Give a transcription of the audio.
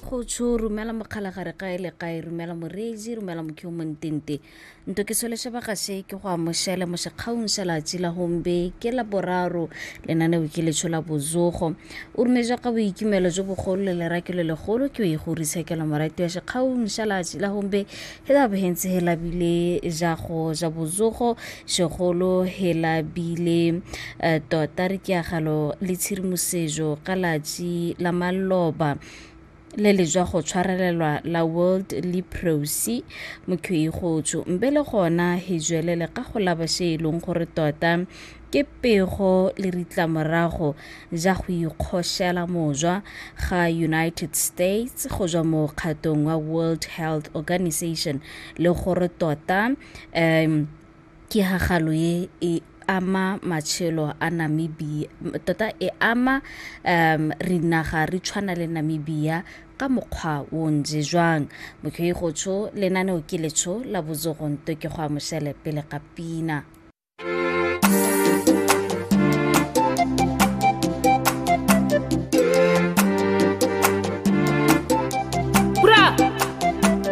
Go tsho romela mokgalagare kae le kae, romela moreetsi, romela mokhio montente. Nto ke sole sebaka se ke go amošele mo sekgaung sa latsi la gombe ke la boraro lenaneo ke letsho la bozogo. O rometswa ka boikimelo jo bogolo le lerake le legolo ke o e go ritshekela morati wa sekgaung sa latsi la gombe he la bohentse he labile ja go ja bozogo segolo he labile tota re ke agalo le tshedimosetso ka latsi la maloba le le jwa go tshwarelelwa la World Leprosy mokhwigotso mbe le gona he jwelele ka go laba se e leng gore tota ke pego le ritlamorago ja go ikgošela mojwa ga United States go jwa mo kgatong wa World Health Organization le gore tota ke hagalo ye e ama matshelo a Namibia tota e ama rinaga re tshwana le Namibia ka mokgwa o ntse jwang. Mokhwigotso lenaneo ke letsho la botsogonto ke go amošele pele ga pina.